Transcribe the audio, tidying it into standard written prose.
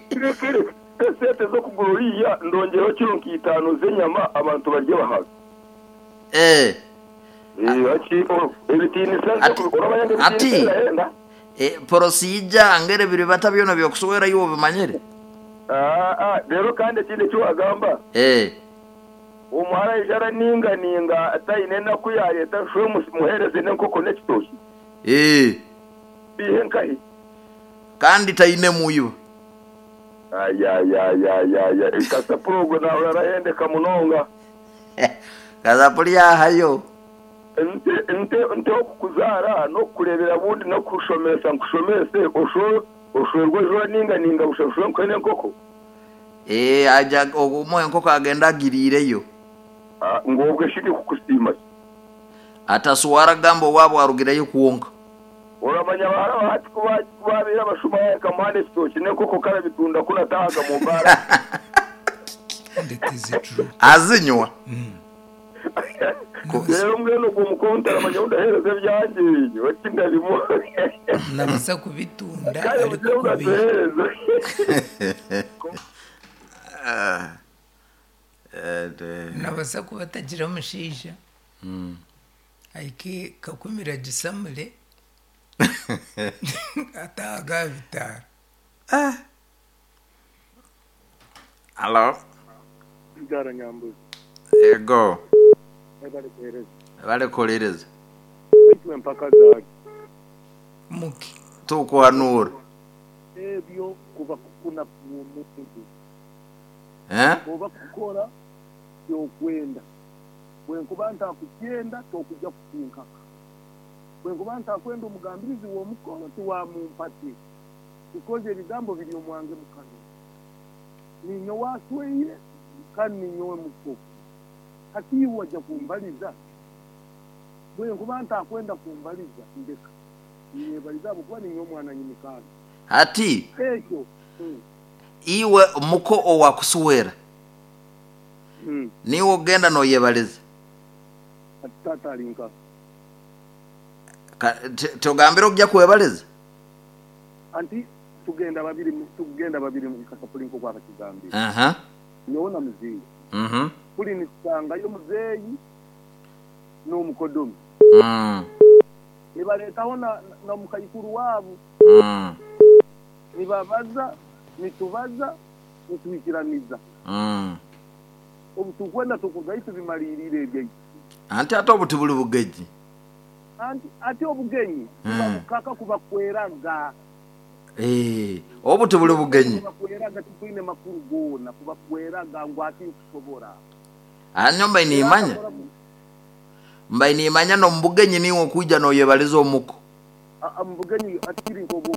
Kireke esente z'okugura oriya ndongyereho kiro nka itaano z'enyama abantu barye bahaage. Eh. Hati ebitiinisa Ati, oramanya ngu ebitiinisa ati birahenda? procedure ngeri biribata byona by'okuswera iwe obimanyire? Aa, reero kandi ekindi eki waagamba. Eh. Omuhara aija araninganinga taine enaku yaareeta nshwe muheereze n'enkoko n'ekitookye. Eh. Biihe nkahi? Kandi taine mwiba. Ayayayayaya kasapuri ogwo nahurira arahendeka munonga. Kasapuri yahayo. Nte nte nte okukuzaara n'okukureebera bundi n'okukushomesa nkushomese osho oshwerwe oije oraninganinga busha nshwe nkuhe n'enkoko. Eeh aja omuha enkoko agenda agiriireyo. Ngu obwe shi ndikukusiima ki? Ataswara gamba owaabo arugireyo kwonka. Oramanya abahara ba hati ku baabaire abashuma nkamuha n'ekitookye n'enkoko karabitunda ku nataahaga mu baara. And it is true. Azinywa. Reero mbwenu ogwo mukono ntaramanya ou ndaheereza ebyangye, oti ndabimuha. Nabaasa kubitunda Kare mugire ngu arikukubiha. natuheereza. Nabaasa kuba atagira mushaija ahike kakumira agisamure ataahaga aha bitaara. Halo. Mbyara Nyambuzi. Ego. Webale kuhereza. Webale kuhuliriza. Baitu empaka zaaki? Muki. Tukuhanuura. Ebyo kuba kukuna kw'omuntu. Eh? Oba kukora ky'okwenda. Bwenkuba ntakukyenda tokugya kukinkaka. Bwenkuba ntakwenda omugambirizi w'omukoro tiwamumpate. Because ebigambo biri omwange mukanwa. Ninyowe asweire kandi ninyowe muko. Hati iwe waja kumbaliza? Bwenkuba ntakwenda kumbaliza ndeka. Ninyebaliza ahabw'okuba ninyowe mwana nyimikaana. Hati Ekyo. iwe muko owakuswera niiwe ogenda noyebaliza? Hati taata ari nkaha? Togambire okugya kwebaliza? Anti tugenda babiri tugenda babiri kasapuri nk'oku abakigambire. Aha. Nyowe na muzeeyi. Mhm. Kuri nitusangayo muzeeyi n'omukodomi. Nibareetaho na na mukaikuru waabo. Nibabaza, nitubaza, nitwikiraniza. Obu turikwenda tukugayo tubimariirire ebyaitu. Anti ate obu tiburi bugenyi. Anti ati obugenyi buba bukaka kuba kweraga. Eeh, obu tibuli bugenyi. Kuba kweraga tikwine makuru goona, kuba kweraga ngu ati nkusobora. Aah nyowe mbaire nimanya, mbaire nimanya n'omu bugenyi niiwe okwija noyebaliza omuko. Aa omu bugenyi ati kiri nk'obu.